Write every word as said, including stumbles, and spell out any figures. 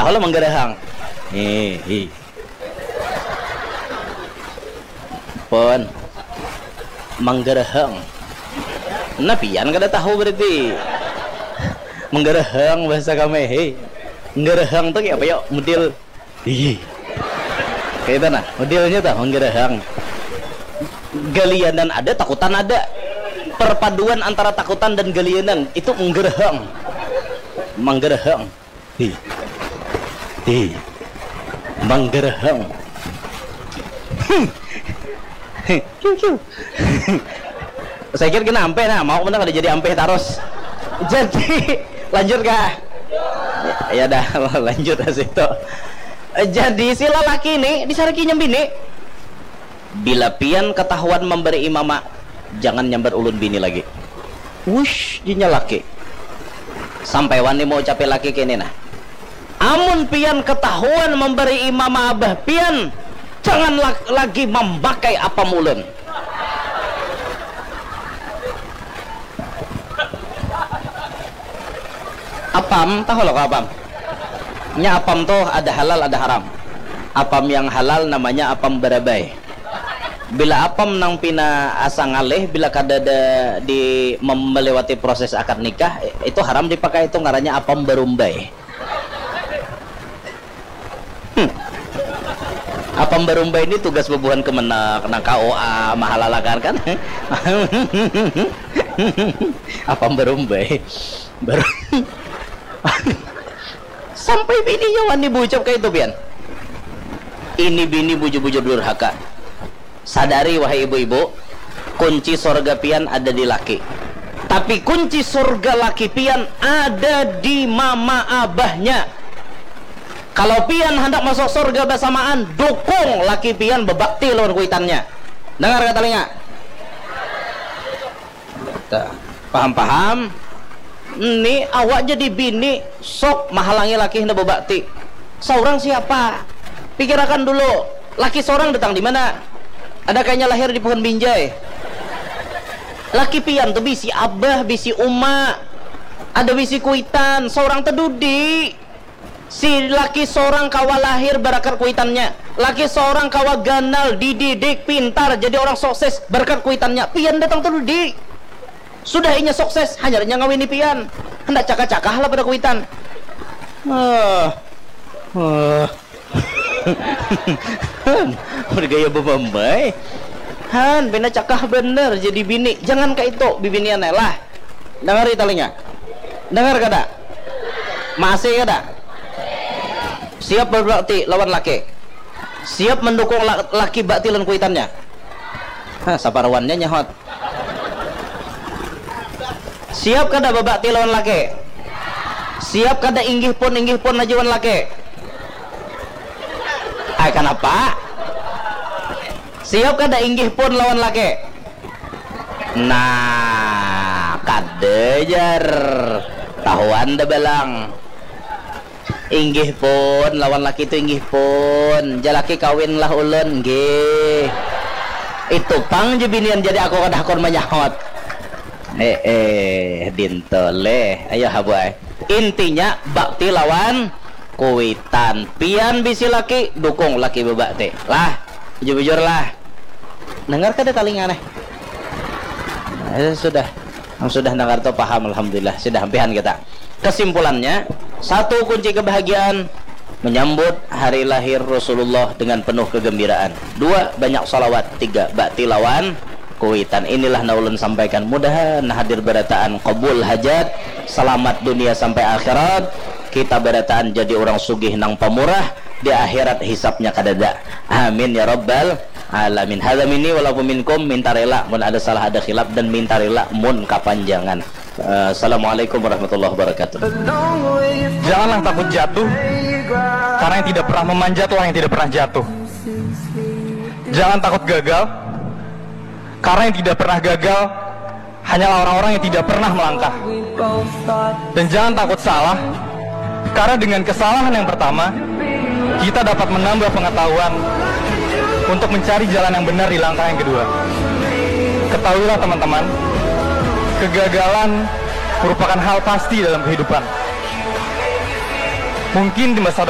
Kalau menggerehang. Hihi. Pun. Menggereheng. Nah, pian kada tahu berarti. Menggereheng bahasa kami. Hei. Menggereheng tuh kayak apa ya? Model. Ih. Kayak itu nah, modelnya tuh menggereheng. Galianan ada, takutan ada. Perpaduan antara takutan dan galianan itu menggereheng. Menggereheng. Hi. Hi. Menggereheng. Kiu, kiu. Saya kira kena ampeh nah, mau mana kada jadi ampeh terus. Jadi lanjut kah? Ya dah, lanjut lah situ. Jadi si lelaki ini disarikinya bini. Bila pian ketahuan memberi mama, jangan nyambat ulun bini lagi. Wush, jinya laki. Sampai wani mau ucapi laki kini nah. Amun pian ketahuan memberi mama abah pian, jangan la- lagi memakai apam ulun. Apam, tahu lo apam? Nya apam tuh ada halal ada haram. Apam yang halal namanya apam barabai. Bila apam nang pina asa ngalih, bila kada ada di melewati proses akad nikah, itu haram dipakai, itu ngarannya apam barumbai. Hmm. Apam barumbai ini tugas bebuhan kemenag, nang K U A, mahalalakan kan? Apam barumbai. Baru sampai bininya wani bucap kayak itu pian. Ini bini bujur-bujur durhaka. Sadari wahai ibu-ibu, kunci sorga pian ada di laki. Tapi kunci sorga laki pian ada di mama abahnya. Kalau pian hendak masuk sorga bersamaan, dukung laki pian bebakti lawan kuitannya. Dengar kata telinga. Paham-paham? Ini awak jadi bini sok mahalangi laki hendak bebakti. Seorang siapa? Pikirakan dulu. Laki seorang datang di mana? Ada kayaknya lahir di pohon binjai. Laki pian tuh bisi abah, bisi uma, ada bisi kuitan, seorang tedudi. Si laki seorang kawa lahir barakat kuitannya. Laki seorang kawa ganal, dididik, pintar, jadi orang sukses barakat kuitannya. Pian datang tu di sudah inya sukses, hanyar inya ngawini pian. Handak cakah-cakah lah pada kuitan. Ah. Ah. Bergaya bebambai. Han, pina cakah bener jadi bini. Jangan kayak itu, bibinian lah. Dengar di telinga. Dengar kada? Masih kada? Siap berbakti lawan laki. Siap mendukung la- laki bakti lawan kuitannya. Hah, saparuannya nyahot. Siap kada bebakti lawan laki? Siap kada inggih pun, inggih pun aja wan laki? Ai, kenapa? Siap kada inggih pun lawan laki? Nah, kada jar. Tahuan dah balang. Inggih pun, lawan laki tu inggih pun. Jalaki kawin lah ulun, nggih. Itu pang je binian jadi aku kada hakun manyahot. Eh, eh, dintoleh. Ayo habu ai. Intinya bakti lawan kuitan. Pian bisi laki, dukung laki bebakti. Lah, bujur-bujur lah. Dengar kada talinga neh? Eh, sudah. Nang sudah dengar tu paham, alhamdulillah. Sudah ampihan kita. Kesimpulannya, satu kunci kebahagiaan menyambut hari lahir Rasulullah dengan penuh kegembiraan. Dua, banyak salawat. Tiga, bakti lawan kuitan. Inilah na ulun sampaikan. Mudahan hadir barataan kabul hajat, selamat dunia sampai akhirat. Kita barataan jadi orang sugih nang pamurah, di akhirat hisapnya kadada. Amin ya rabbal alamin. Hadza minni walakum minkum, minta rela mun ada salah ada khilaf dan minta rela mun kapanjangan. Eh, Assalamualaikum warahmatullahi wabarakatuh. Janganlah takut jatuh, karena yang tidak pernah memanjatlah yang tidak pernah jatuh. Jangan takut gagal, karena yang tidak pernah gagal hanyalah orang-orang yang tidak pernah melangkah. Dan jangan takut salah, karena dengan kesalahan yang pertama, kita dapat menambah pengetahuan untuk mencari jalan yang benar di langkah yang kedua. Ketahuilah teman-teman, kegagalan merupakan hal pasti dalam kehidupan. Mungkin di masa depan